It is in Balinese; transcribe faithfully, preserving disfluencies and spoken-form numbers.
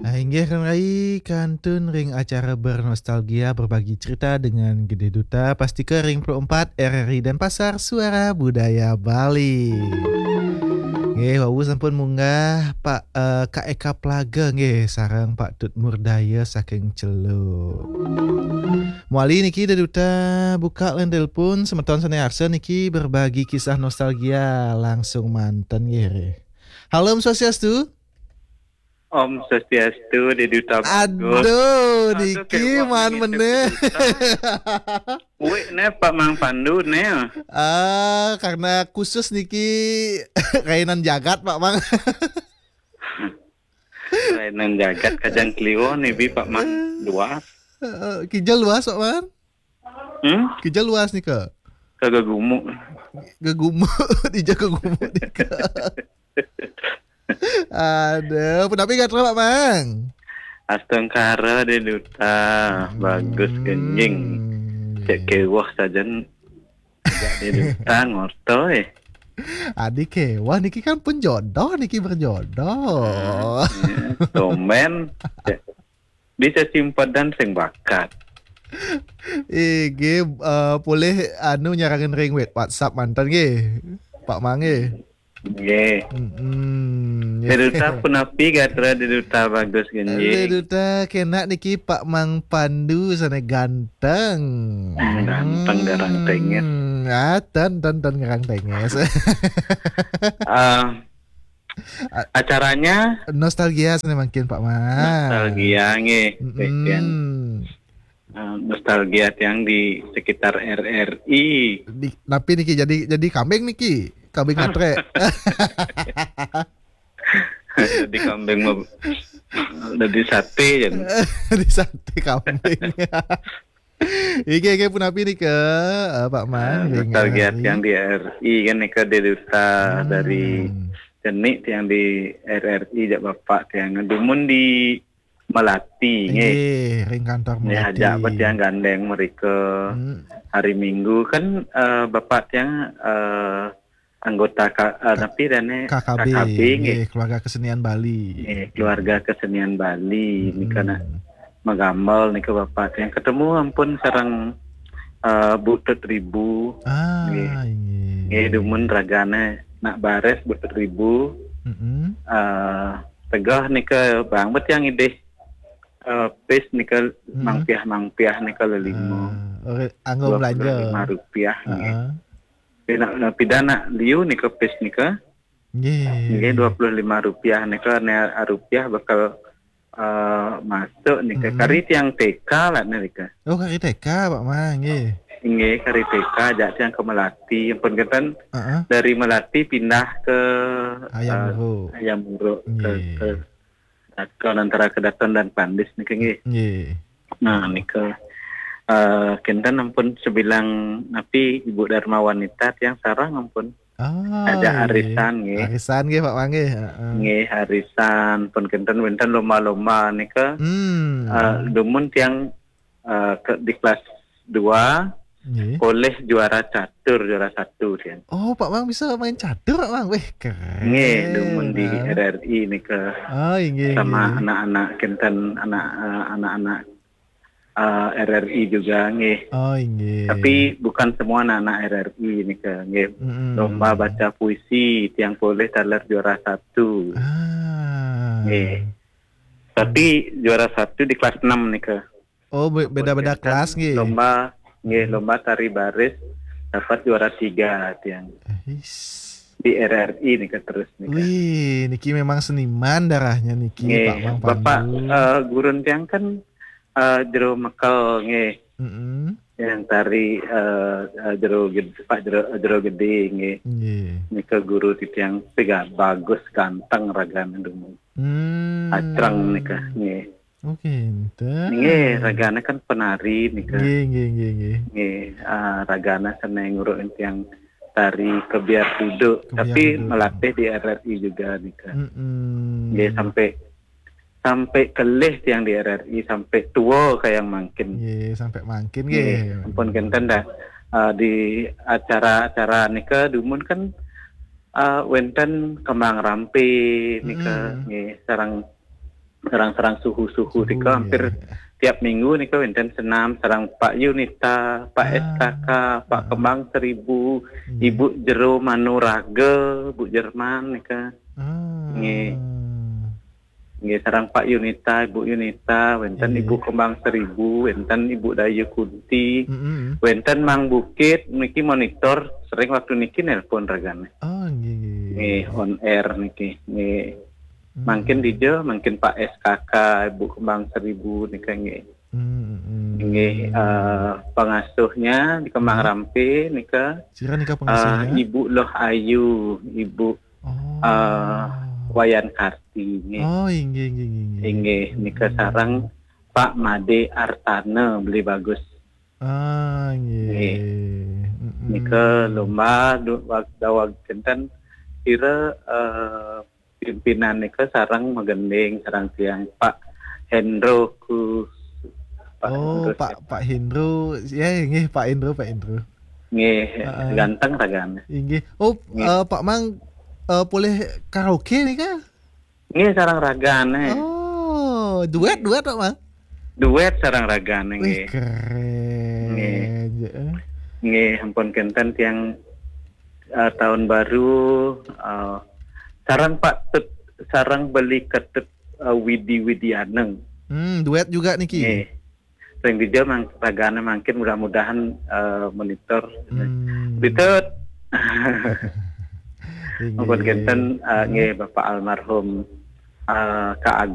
Ah, inggih rai kantun ring acara bernostalgia, berbagi cerita dengan Gede Duta, pastika ring empat R R I Denpasar, Suara Budaya Bali. Nggih, wau sampun munggah Pak, eh, Kak Eka Plaga nggih, sareng Pak Tut Murdaya saking Celuk. Mawali niki Gede Duta buka line telepon, semeton sane arsa niki berbagi kisah nostalgia langsung manten nggih. Halo, Om Swastiastu. Om Swastiastu, Gede Duta Bagus. Aduh, aduh, niki man meneh. Wih, ne Pak Mang Pandu ne. Ah, karena khusus niki rainan jagat, Pak Mang. Rainan jagat kajang kliwo ne bi Pak Mang. Luas. Eh, kijel luas, Pak Mang. Hmm? Kijel luas nika. Kagak gumu. Gegumu, dija gegumu nika. Aduh, punapi gatra, Pak Mang? Astungkara Gede Duta, bagus genjing. Cek kewah sajan. Gede Duta ngorto eh. Adi kewah niki kan pun jodoh, niki berjodoh. Iya, tumben. Cek, bisa simpedan sing bakat. Ih, nggih, eh, polih anu nyarengin ring wet WhatsApp manten nggih. Pak Mang nggih. Nggih. Mm-mm, nggih. Gede Duta punapi gatra Gede Duta bagus genjing. Gede Duta kenak niki Pak Mang Pandu sane ganteng. Hmm, ganteng garang tengis. Hmm, ah, ten, ten, ten garang tengis. Eh, A- acaranya nostalgia sane mangkin, Pak Mang. Nostalgia nggih, mm-mm. Eh, nostalgia tiang di sekitar R R I. Di, napi niki jadi, jadi kambing niki? Kambing ngatre. Jadi kambing mah, jadi sate jan. Di sate kambing. Iki, iki punapi nika, eh, Pak Mang, eh, ring nostalgia R R I. Tiang di R R I kan nika Gede Duta. Hmm. Dari cenik tiang di R R I jak bapak tiang dumun di Melati, nggih. Nggih, ring kantor Melati. Nggih, ajak apa tiang gandeng mereka. Hmm. Hari Minggu kan, eh, bapak tiang, eh, anggota ka-, eh, napi dane K K B, K K B, nggih. Nggih, Keluarga Kesenian Bali. Nggih, Keluarga Kesenian Bali. Hmm. Nika nak magambar nika bapak tiang ketemu ampun sareng, eh, Bu Tut Ribu. Ah, nggih. Inggih. Nggih, dumun ragane nak bares Bu Tut Ribu. Mm-mm. Eh, tegah nika bang bet yang idih, eh, pis nika, mm-mm, mangpiah-mangpiah nika lelima. Ah, ore-, anggo belanja. Dua puluh lima rupiah nggih. Heeh. Pida, pida nak liu nika pis nika. Nggih. Nggih, dua puluh lima rupiah nika ne rupiah bakal, eh, masuk nika. Mm-mm. Kari tiang T K lah nika. Oh, kari T K, Pak Mang, nggih. Nggih, kari T K ajak tiang ke Melati. Ampun kenten, heeh, dari Melati pindah ke, Hayam, eh, Wuruk. Hayam Wuruk, ke, nggih, ke Daton, antara ke Daton dan Pandis nika nggih. Nggih. Nah, nika, eh, kenten ampun sebilang napi Ibu Dharma Wanita tiang sareng ampun. Ah, ajak nggih. Arisan nggih. Arisan nggih, Pak Mang nggih. Heeh. Nggih, arisan pun kenten wenten lomba-lomba nika. Hmm. Eh, dumun tiang, eh, ke, di kelas dua, nggih, polih juara catur, juara satu tiang. Oh, Pak Mang bisa main catur, Pak Mang. Weh, keren. Nggih, dumun di, ah, R R I nika. Oh, inggih, sama inggih. Anak-anak kenten, anak, eh, anak-anak, eh, R R I juga nggih. Oh, inggih. Tapi bukan semua anak-anak R R I nika nggih. Mm-mm. Lomba baca puisi tiang polih taler juara satu. Ah. Nggih. Tapi juara satu di kelas enam nika. Oh, be-, beda-beda kelas nggih. Lomba, nggih, hmm, lomba tari baris dapat juara tiga tiang. Ais. Di R R I nika terus nika. Wih, niki memang seniman darahnya niki, nggih, Pak Mang Pandu. Bapak, eh, gurun tiang kan, eh, jero Mekel nggih. Mm-mm. Yang tari, eh, eh, jero ged-, Pak jero, jero gede nggih. Nggih. Nika guru titiang tiga bagus ganteng ragane dumun. Hmm. Acreng nika nggih. Oke, enten. Nggih, ragane kan penari nika. Nggih, nggih, nggih, nggih. Nggih, ah, ragane seneng nguruk tiang tari kebiar duduk, kebiar tapi duduk. Melatih di R R I juga nika. Mm-mm. Nggih, sampai, sampai kelih tiang di R R I, sampai tua kayang mangkin. Nggih, sampai mangkin nggih. Nggih, ampun kenten dah. Ah, di acara-acara nika dumun kan Ah, wénten Kembang Rampe nika, nggih, sareng, sareng, sareng suhu-suhu nika hampir tiap minggu nika wénten senam, sareng Pak Yunita, Pak S K K, Pak Kembang Seribu, Ibu Jero Manuraga, Bu Jerman nika. Nggih. Nggih, sareng Pak Yunita, Ibu Yunita, wénten Ibu Kembang Seribu, wénten Ibu Dayu Kunti, wénten Mang Bukit niki monitor, sering waktu niki nelpon ragane. Oh, nggih, nggih. Nggih, on air niki. Nggih. Mangkin dija, mangkin Pak S K K, Ibu Kembang Seribu nika nggih. Nggih, eh, pengasuhnya di Kembang Rampe nika, Sira nika eh, pengasuhnya? Ibu Loh Ayu, Ibu, Oh. eh, Wayan Karti nggih. Oh, inggih, inggih, inggih, inggih. Inggih, nika sareng Pak Made Artana beli bagus. Ah, nggih. Nggih. Mm-mm. Nika lomba du- wag- daweg kinten kira, eh, pimpinan nika sareng magending sareng tiang Pak Hendro Kus Pak Oh, Hendro Pak Pak Hendro. Ya, nggih, Pak Hendro, Pak Hendro. Nggih, Heeh. ganteng ragane. Inggih. Oh, Nggih. eh, Pak Mang, eh, polih karaoke nika? Nggih, sareng ragane. Oh, duet, duet, Pak Mang? Duet sareng ragane Wih, nggih. Keren. Nggih. Ya, eh. Nggih, ampun kinten tiang, eh, tahun baru, eh, sareng Pak Tut, sareng beli Ketut, eh, Widi Widianeng. Hmm, duet juga niki. Nggih. Ring dija mang, ragane mangkin mudah-mudahan, eh, monitor. Hmm. Bitut. Inggih. Ampun kinten, eh, nggih, Bapak almarhum, eh, Ka Ageng.